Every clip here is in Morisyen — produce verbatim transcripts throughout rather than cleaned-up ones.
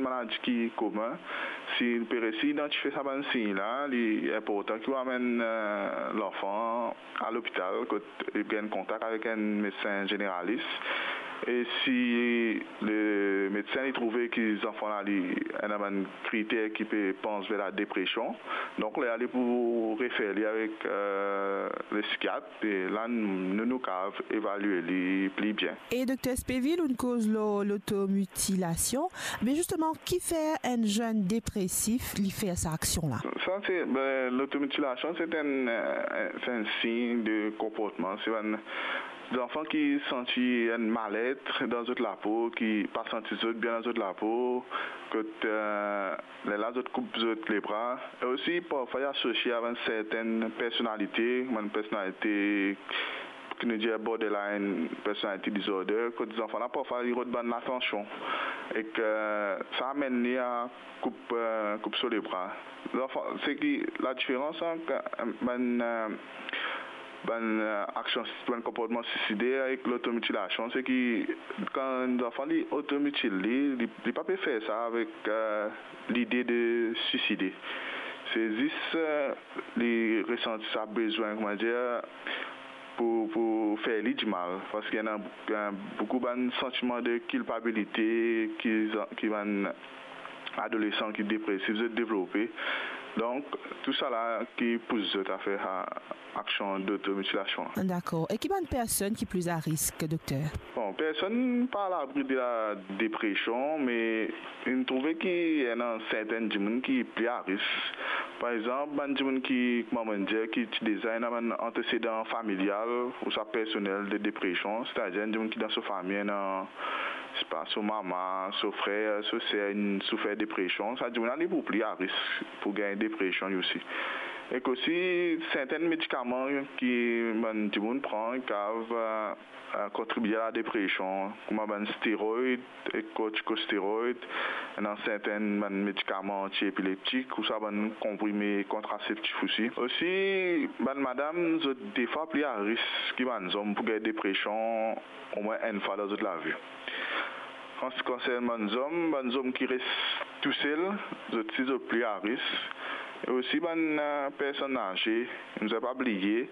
maladi ki komin. Si li pe resi idantifie sa bann sign la, li inportan ki ou amenn, eh, lanfan a lopital kot li gagn kontak avek enn medsin zeneralis. E si le medsin li trouve ki zanfan la li ena bann kriter ki pe pans ver ladepresion, donk lerla li pou refer li avek, eh, le psikiat. E la, nou, nou kav evalie li pli bien. E Dokter Spevil, ou'nn koz lor lotomitilasion, me zisteman, kifer enn zenn depresif li fer sa aksion la? Sa se, be, lotomitilasion, se enn, eh, se enn sign de konportman. Se bann zanfan ki santi enn malet dan zot lapo, ki pa santi zot bien dan zot lapo, kot, eh, lerla zot koup zot lebra. E osi, parfwa, li asosie avek enn sertenn personalite, bann personalite ki nou dir borderline personality disorder, kot zanfan la, parfwa, li rod bann latansion. Ek sa amenn li a koup, eh, koup so lebra. Zanfan, se ki ladiferans ant, eh, bann, eh, bann, eh, aksion, bann konportman sisider ek lotomitilasion, se ki kan enn zanfan li otomitil li, li, li pa pe fer sa avek, eh, lide de siside. Se zis, eh, li resanti sa bezwin, koumadir, pou, pou fer li dimal, parski ena, ena boukou bann santiman de kilpabilite ki, ki bann adolesan ki depresif zot devlope. Donk, tou sala ki pous zot a fer, a, aksion dotomitilasion la. Dakor. E ki bann personn ki pli a risk, dokter? Bon, personn pa alabri de ladepresion, me nou trouve ki ena sertenn dimoun ki pli a risk. Par exanp, bann dimoun ki, kouma mo dir, ki ti deza ena bann antesedan familial ouswa personel de depresion, setadir enn dimoun ki dan so fami ena, sepa, so mama, so frer, so ser, inn soufer depresion, sa dimoun la li pou pli a risk pou gagn depresion li osi. Ek osi, sertenn medikaman ki bann dimoun pran, kav, eh, eh, kontribie a ladepresion, kouma bann steroid ek kortikosteroid, ena sertenn bann medikaman antiepileptik, ouswa bann konprime kontraseptif osi. Osi, bann madam, zot defwa pli a risk ki bann zom pou gagn depresion omwin enn fwa dan zot lavi. An se ki konsern bann zom, bann zom ki res tousel, zot si zot pli a risk. E osi bann, eh, personn aze, nou pa bliye,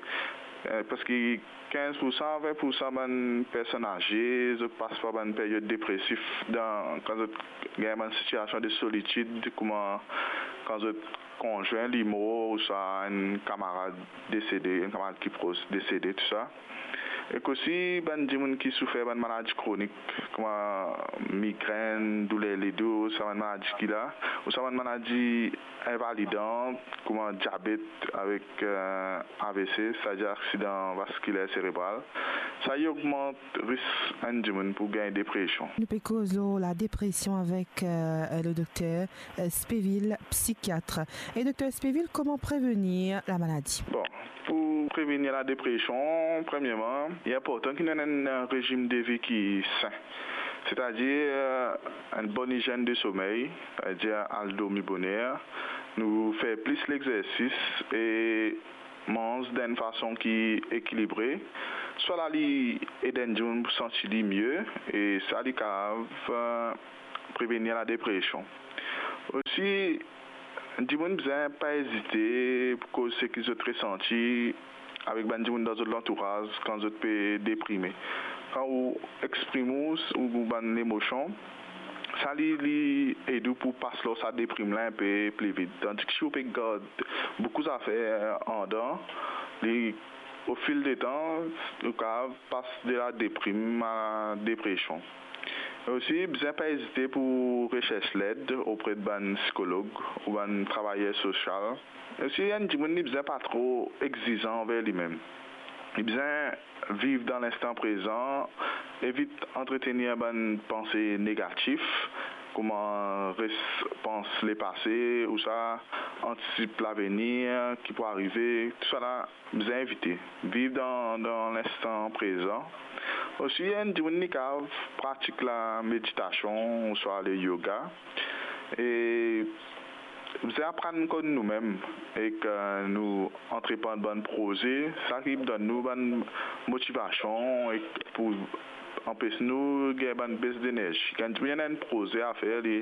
eh, parski kinz pou san, vin pou san bann personn aze, zot pas par bann period depresif dan, kan zot gagn bann sitiasion de solitid, kouma kan zot konzwin li mor, ouswa enn kamarad desede, enn kamarad ki pros desede, tou sa. Ek osi bann dimoun ki soufer bann maladi kronik, kouma migrenn, douler ledo, sa bann maladi ki la, ouswa bann maladi invalidan, kouma diabet avek, eh, A V C, setadir aksidan vaskiler serebral. Sa li ogmant risk enn dimoun pou gagn depresion. Nou pe koz lor ladepresion avek, eh, le dokter, eh, Spevil, psikiat. E dokter Spevil, kouma prevenir lamaladi? Bon, pou prevenir ladepresion, premierman, li inportan ki nou ena enn rezim de vi ki sin. Setadir, eh, enn bon izienn de somey, setadir al dormi boner, nou fer plis lexersis e manz dan enn fason ki ekilibre. Sa la li ed enn dimoun pou santi li mie e sa li kav, eh, prevenir ladepresion. Osi, dimoun bizin pa ezite pou koz seki zot resanti avek bann dimoun dan zot lantouraz kan zot pe deprime. Kan ou exprim ou, ou bann lemosion, sa li, li ed ou pou pas lor sa deprim la inpe pli vit. Tandis ki si ou pe gard boukou zafer andan, li, o fil de tan, ou kav pas de la deprim a depresion. E osi, bizin pa ezite pou resers led opre de bann psikolog ou bann travayer sosial. E osi, enn dimoun li bizin pa tro exizan anver limem. Li bizin viv dan linstan prezan, evit antretenir bann panse negatif, kouma res pans lepase, ouswa antisip lavenir ki pou arive, tou sa la bizin evite. Viv dan, dan linstan prezan. Osi, enn dimoun li kav pratik lameditasion ouswa le yoga. E bizin aprann konn noumem ek, eh, nou antreprann bann proze, sa ki donn nou bann motivasion ek pou anpes nou gagn bann bes denerzi. Kan dimoun ena enn proze a fer, li,